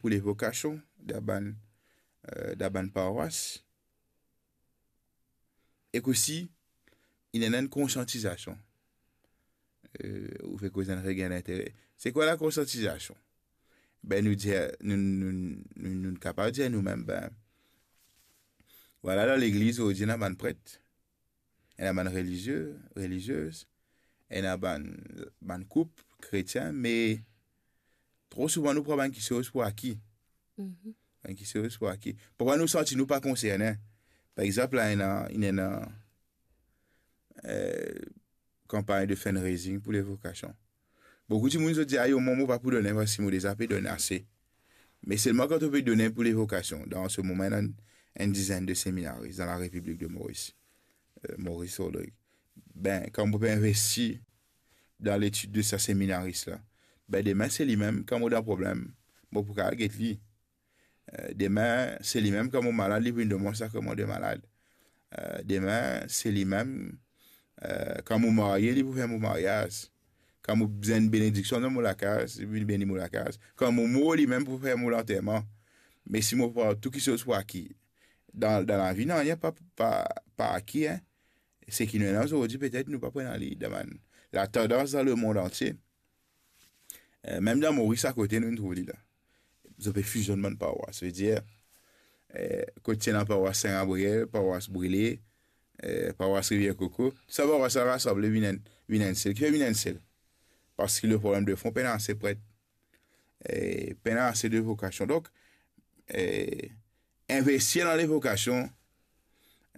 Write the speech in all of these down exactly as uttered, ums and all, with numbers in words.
pou levokasion dan bann, eh, dan bann parwas. Ek osi, inn ena enn konsiantizasion. Eh, ou fek koz enn regin lintere. Se kwa lakonsiantizasion? Be, nou dir, nou, nou, nou, nou kapav dir noumem, be, vwala, dan legliz, zordi, ena bann pret, ena bann relizie, reliziez, ena bann, bann koup kretien, me tro souvan nou pran bann kiksoz pou aki. Mhm. Bann kiksoz pou aki. Parfwa nou santi nou pa konserne. Par exanp, la, ena, ena, eh, kanpagn de fundraising pou levokasion. Boukou dimoun, zot dir, "Ayo, mwa, mo pa pou done, paski mo deza pe donn ase." Me selman kan to pe donn pou levokasion, dan se moman, ena enn, enn dizenn de seminaris dan la Repiblik de Moris, eh, Moris Rodrig. Be, kan mo pe investi dan letid de sa seminaris la, be, demin, se limem, kan mo dan problem, mo pou kapav get li. Eh, demin, se limem, kan mo malad, li pou vinn donn mwa sakraman de malad. Eh, demin, se limem, eh, kan mo marye, li pou fer mo maryaz. Kan mo bizin benediksion dan mo lakaz, li pou vinn beni mo lakaz. Kan mo mor, limem pou fer mo lanterman. Me si mo pran tou kiksoz pou aki, dan, dan lavi, nanye pa, pa, pa aki, en. Seki nou ena zordi, petet nou pa pou ena li demin. Latandans dan lemond antie, eh, mem dan Moris akote, nou trouv li la. Zot pe fizionn bann parwas. Savedir, eh, kot ti ena parwas Sin Gabriel, parwas Brile, eh, parwas Rivier Koko, sa parwas la rasanble, vinn enn, vinn enn sel. Kifer vinn enn sel? Paski leproblem de fon, pena ase pret, eh, pena ase de vokasion. Donk, eh, investir dan levokasion,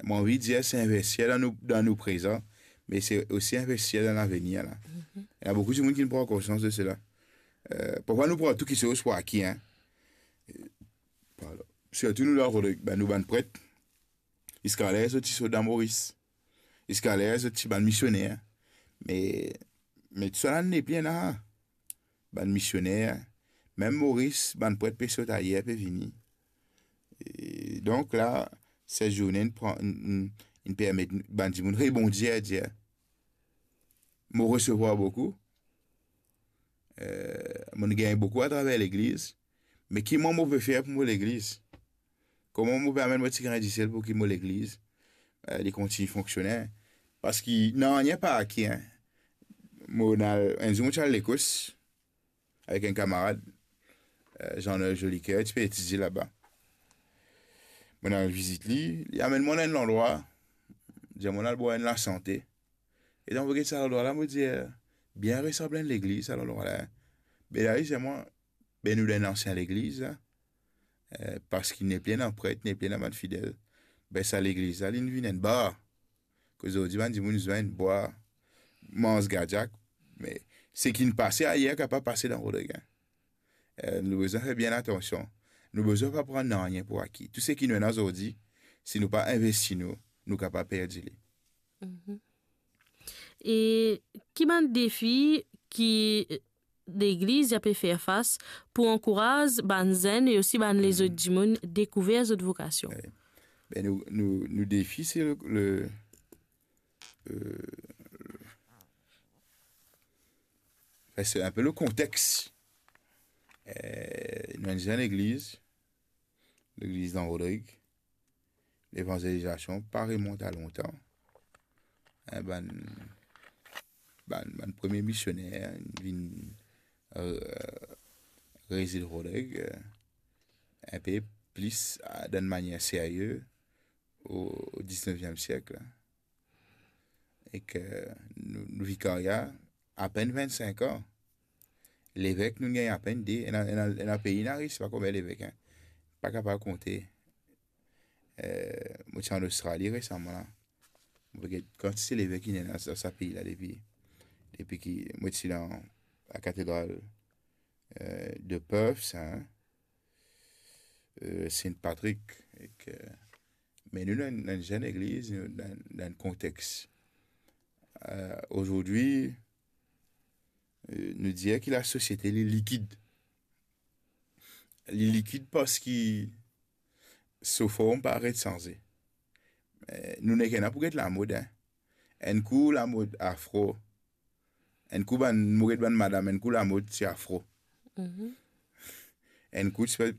mo anvi dir, se investir dan nou, dan nou prezan, me se osi investir dan lavenir la. Mhm. Ena boukou dimoun ki pran konsians de sela. Eh, parfwa nou pran tou kiksoz pou aki, en. Eh, pardon. Sirtou nou dan Rodrig, be, nou bann pret, ziska ler zot ti sot dan Moris, ziska ler zot ti bann misioner. Me, me tousala nepli ena. Bann misioner, mem Moris, bann pret pe sot ayer, pe vini. E donk la, set zourne inn pran, inn, inn, inn permet bann dimoun rebondir, dir, mo resevwar boukou, eh, mo gagn boukou atraver legliz, me ki mwa mo pe fer pou mo legliz? Kouma mo pe amenn mo tigrin disel pou ki mo legliz, eh, li kontign fonksione? Paski nanye pa aki, en. Mo al, enn zour mo ti al Lekos avek enn kamarad, eh, Jean-Noël Jolicoeur, ti pe etidie laba. Mo al vizit li, li amenn mwa dan enn landrwa, dir mwa al bwar enn lasante. E dan mo get sa landrwa la, mo dir, bien resanble enn legliz, sa landrwa la, en. Be la, li dir mwa, be nou dan enn ansien legliz la, eh, paski nepli ena pret, nepli ena bann fidel. Be sa legliz la, linn vinn enn bar. Kot zordi bann dimoun zwenn, bwar, manz gadiak. Me seki inn pase ayer kapav pase dan Rodrig, en. Eh, nou bizin fer bien atansion. Nou bizin pa pran nanye pou aki. Tou seki nou ena zordi, si nou pa investi nou, nou kapav perdi li. Mhm. E ki bann defi ki legliz ya pe fer fas pou ankouraz bann zenn e osi bann lezot dimoun dekouver zot vokasion? Eh, be nou, nou, nou defi, se le, le, eh, anfin, se inpe le kontex. Eh, nou enn zenn legliz, legliz dan Rodrig, levanzelizasion pa remont a lontan. Eh, bann, bann, bann premie misioner vinn, eh, rezid Rodrig, eh, inpe plis, eh, dan enn manier serye o, o dizneviem siek la. Ek nou, nou vikaria, apenn vinn-sink an. Levek, nou gagn apenn de. Ena, ena, ena pei, ena ris, pa konbien levek, en. Pa kapav konte. Eh, mo ti an Ostrali resaman la. Mo pe get kantite levek ki ena sa, sa pei la depi, depi ki mo ti dan lakatedral, eh, de Perth, sa, eh, Saint Patrick, ek, eh, me nou, dan, dan enn zenn legliz, nou, dan, dan enn kontex. Eh, azordi, eh, nou dir ki lasosiete, li likid. Li likid paski so form pa aret sanze. Eh, nou nek ena pou get lamod, en. Enn kou lamod afro. Enn kou bann, mo get bann madam, enn kou lamod ti afro. Mhm. Enn kou ti pe,